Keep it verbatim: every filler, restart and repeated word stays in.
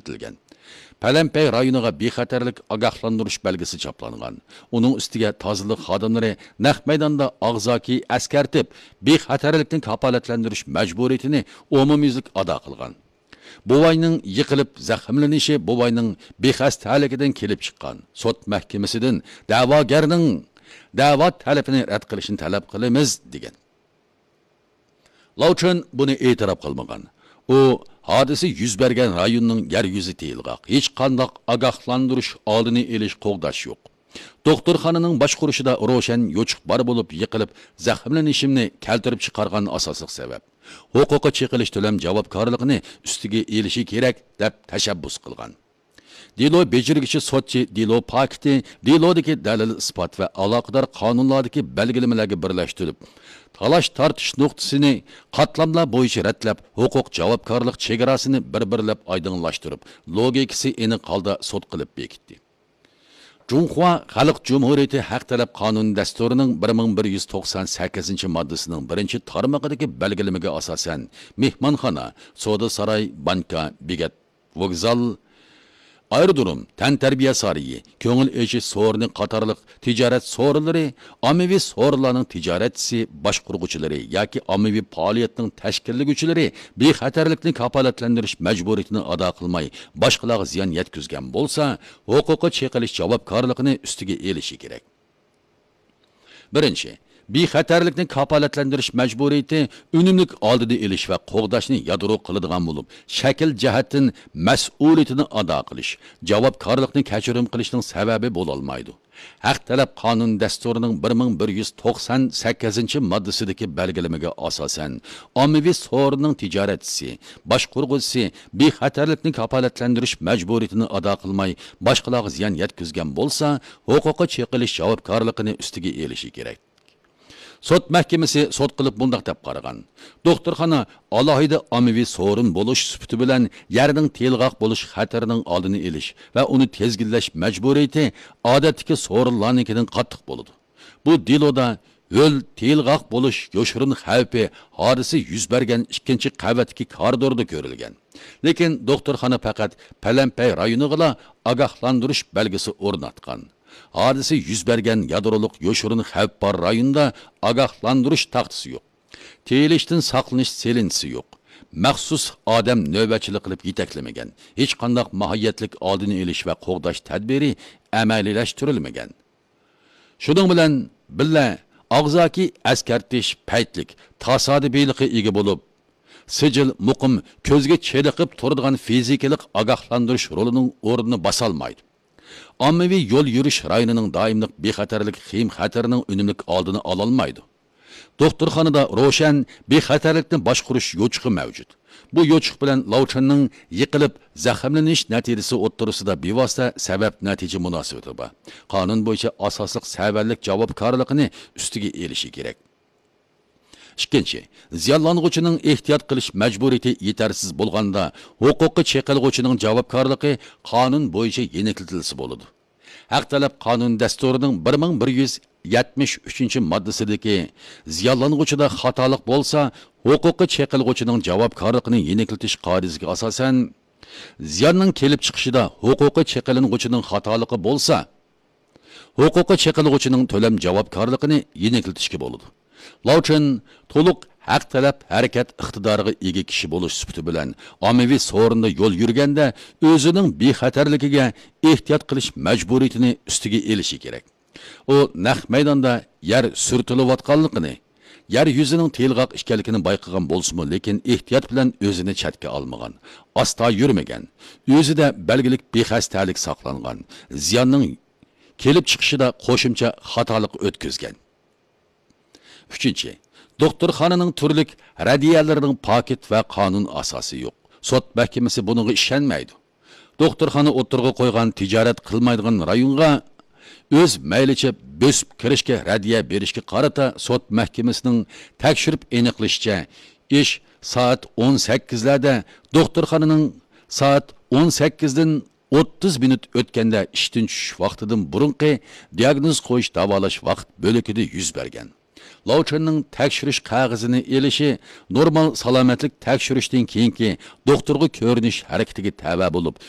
ئىشلىتىلگەن. پەلەمپەي رايونىغا بىخەتەرلىك ئاگاھلاندۇرۇش بەلگىسى چاپلانغان. ئۇنىڭ ئۈستىگە تازىلىق خادىملىرى نەق مەيداندا ئاغزاكى ئەسكەرتىپ، بىخەتەرلىكنى كاپالەتلەندۈرۈش مەجبۇرىيىتىنى ئومۇميۈزلۈك ئادا قىلغان. بوۋاينىڭ يىقىلىپ زەخىملىنىشى بوۋاينىڭ بىخەستەلىكىدىن كېلىپ چىققان. سوت مەھكىمىسىدىن دەۋاگەرنىڭ دەۋا تەلىپىنى رەت قىلىشنى تەلەپ قىلىمىز، دېگەن. لاۋچۈن بۇنى ئېتىراپ قىلمىغان. ئۇ ھادىسە يۈز بەرگەن رايوننىڭ يەر يۈزى تېيىلغاق، ھېچقانداق ئاگاھلاندۇرۇش، ئالدىنى ئېلىش، قوغداش يوق. دوختۇرخانىنىڭ باشقۇرۇشىدا روشەن يوچۇق بار بولۇپ، يىقىلىپ زەخىملىنىشىمنى كەلتۈرۈپ چىقارغان ئاساسلىق سەۋەب، ھوقۇقى چېقىلىش تۆلەم جاۋابكارلىقىنى ئۈستىگە ئېلىشى كېرەك، دەپ تەشەببۇس قىلغان. دېلو بېجىرگۈچى سوتچى دېلو پاكىتى دېلودىكى دەلىل-ئىسپات ۋە ئالاقىدار قانۇنلاردىكى بەلگىلىمىلەرگە بىرلەشتۈرۈپ، تالاش-تارتىش نۇقتىسىنى قاتلاملار بويىچە رەتلەپ، ھوقۇق جاۋابكارلىق چېگراسىنى بىر-بىرلەپ ئايدىڭلاشتۇرۇپ، لوگىكىسى ئېنىق ھالدا سوت قىلىپ بېكىتتى. جۇڭخۇا خەلق جۇمھۇرىيىتى ھەق تەلەپ قانۇن دەستۇرىنىڭ بىر مىڭ بىر يۈز توقسان سەككىزىنچى ماددىسىنىڭ بىرىنچى تارمىقىدىكى بەلگىلىمىگە ئاساسەن، مېھمانخانا، سودا ساراي، بانكا، بېكەت، ۋوگزال، ئايرودروم، تەنتەربىيە سارىيى، كۆڭۈل ئېچىش سورۇنى قاتارلىق تىجارەت سورۇنلىرى، ئاممىۋى سورۇنلارنىڭ تىجارەتچىسى، باشقۇرغۇچىلىرى ياكى ئاممىۋى پائالىيەتنىڭ تەشكىللىگۈچىلىرى بىخەتەرلىكنى كاپالەتلەندۈرۈش مەجبۇرىيىتىنى ئادا قىلماي، باشقىلارغا زىيان يەتكۈزگەن بولسا، ھوقۇقى چېقىلىش جاۋابكارلىقىنى ئۈستىگە ئېلىشى كېرەك. بىرىنچى، بىخەتەرلىكنى كاپالەتلەندۈرۈش مەجبۇرىيىتى ئۈنۈملۈك ئالدىنى ئېلىش ۋە قوغداشنى يادرو قىلىدىغان بولۇپ، شەكىل جەھەتتىن مەسئۇلىيىتىنى ئادا قىلىش، جاۋابكارلىقنى كەچۈرۈم قىلىشنىڭ سەۋەبى بولالمايدۇ. ھەق تەلەپ قانۇن دەستۇرىنىڭ بىر مىڭ بىر يۈز توقسان سەككىزىنچى ماددىسىدىكى بەلگىلىمىگە ئاساسەن، ئاممىۋى سورۇننىڭ تىجارەتچىسى، باشقۇرغۇچىسى بىخەتەرلىكنى كاپالەتلەندۈرۈش مەجبۇرىيىتىنى ئادا قىلماي، باشقىلارغا زىيان يەتكۈزگەن بولسا، ھوقۇقى چېقىلىش جاۋابكارلىقىنى ئۈستىگە ئېلىشى كېرەك. سوت مەھكىمىسى سوت قىلىپ مۇنداق دەپ قارىغان: دوختۇرخانا ئالاھىدە ئاممىۋى سورۇن بولۇش سۈپىتى بىلەن يەرنىڭ تېيىلغاق بولۇش خەتىرىنىڭ ئالدىنى ئېلىش ۋە ئۇنى تىزگىنلەش مەجبۇرىيىتى ئادەتتىكى سورۇنلارنىڭكىدىن قاتتىق بولىدۇ. بۇ دېلودا ھۆل تېيىلغاق بولۇش يوشۇرۇن خەۋپى ھادىسە يۈز بەرگەن ئىككىنچى قەۋەتتىكى كارىدوردا كۆرۈلگەن. لېكىن دوختۇرخانا پەقەت پەلەمپەي رايونىغىلا ئاگاھلاندۇرۇش بەلگىسى ئورناتقان. ھادىسە يۈز بەرگەن يادرولۇق يوشۇرۇن خەۋپ بار رايوندا ئاگاھلاندۇرۇش تاختىسى يوق. تېيىلىشتىن ساقلىنىش سېلىنچىسى يوق. مەخسۇس ئادەم نۆۋەتچىلىك قىلىپ يېتەكلىمىگەن. ھېچقانداق ماھىيەتلىك ئالدىنى ئېلىش ۋە قوغداش تەدبىرى ئەمەلىيلەشتۈرۈلمىگەن. شۇنىڭ بىلەن بىللە، ئاغزاكى ئەسكەرتىش پەيتلىك، تاسادىپىيلىققا ئىگە بولۇپ، سىجىل مۇقىم كۆزگە چېلىقىپ تۇرىدىغان فىزىكىلىق ئاگاھلاندۇرۇش رولىنىڭ ئورنىنى باسالمايدۇ. ئاممىۋى يول يۈرۈش رايونىنىڭ دائىملىق بىخەتەرلىك خېيىم خەتىرىنىڭ ئۈنۈملۈك ئالدىنى ئالالمايدۇ. دوختۇرخانىدا روشەن بىخەتەرلىكنى باشقۇرۇش يوچۇقى مەۋجۇت. بۇ يوچۇق بىلەن لاۋچىننىڭ يىقىلىپ زەخىملىنىش نەتىجىسى ئوتتۇرىسىدا بىۋاسىتە سەۋەب نەتىجە مۇناسىۋىتى بار. قانۇن بويىچە ئاساسلىق سەۋەنلىك جاۋابكارلىقىنى ئۈستىگە ئېلىشى كېرەك. ئىككىنچى، زىيانلانغۇچىنىڭ ئېھتىيات قىلىش مەجبۇرىيىتى يېتەرسىز بولغاندا، ھوقۇقى چېقىلغۇچىنىڭ جاۋابكارلىقى قانۇن بويىچە يېنىكلىتىلسە بولىدۇ. ھەق تەلەپ قانۇن دەستۇرىنىڭ بىر مىڭ بىر يۈز يەتمىش ئۈچىنچى ماددىسىدىكى زىيانلانغۇچىدا خاتالىق بولسا، ھوقۇقى چېقىلغۇچىنىڭ جاۋابكارلىقىنى يېنىكلىتىش قائىدىسىگە ئاساسەن، زىياننىڭ كېلىپ چىقىشىدا ھوقۇقى چېقىلىنغۇچىنىڭ خاتالىقى بولسا، ھوقۇقى چېقىلغۇچىنىڭ تۆلەم جاۋابكارلىقىنى يېنىكلىتىشكە بولىدۇ. لاۋچىن تولۇق ھەق تەلەپ ھەرىكەت ئىقتىدارىغا ئىگە كىشى بولۇش سۈپىتى بىلەن ئاممىۋى سورۇندا يول يۈرگەندە ئۆزىنىڭ بىخەتەرلىكىگە ئېھتىيات قىلىش مەجبۇرىيىتىنى ئۈستىگە ئېلىشى كېرەك. ئۇ نەق مەيداندا يەر سۈرتۈلۈۋاتقانلىقىنى، يەر يۈزىنىڭ تېيىلغاق ئىكەنلىكىنى بايقىغان بولسىمۇ، لېكىن ئېھتىيات بىلەن ئۆزىنى چەتكە ئالمىغان، ئاستا يۈرمىگەن، ئۆزىدە بەلگىلىك بىخەستەلىك ساقلانغان، زىياننىڭ كېلىپ چىقىشىدا قوشۇمچە خاتالىق ئۆتكۈزگەن. ئۈچىنچى، دوختۇرخانىنىڭ تۈرلۈك رەددىيەلىرىنىڭ پاكىت ۋە قانۇن ئاساسى يوق. سوت مەھكىمىسى بۇنىڭغا ئىشەنمەيدۇ. دوختۇرخانا ئوتتۇرىغا قويغان تىجارەت قىلمايدىغان رايونغا ئۆز مەيلىچە بۆسۈپ كىرىشكە رەددىيە بېرىشكە قارىتا سوت مەھكىمىسىنىڭ تەكشۈرۈپ ئېنىقلىشىچە، ئىش سائەت ئون سەككىزلەردە دوختۇرخانىنىڭ سائەت ئون سەككىزدىن ئوتتۇز مىنۇت ئۆتكەندە ئىشتىن چۈشۈش ۋاقتىدىن بۇرۇنقى دىئاگنوز قويۇش داۋالاش ۋاقىت بۆلىكىدە يۈز بەرگەن. لاۋچىننىڭ تەكشۈرۈش قەغىزىنى ئېلىشى نورمال سالامەتلىك تەكشۈرۈشتىن كېيىنكى دوختۇرغا كۆرۈنۈش ھەرىكىتىگە تەۋە بولۇپ،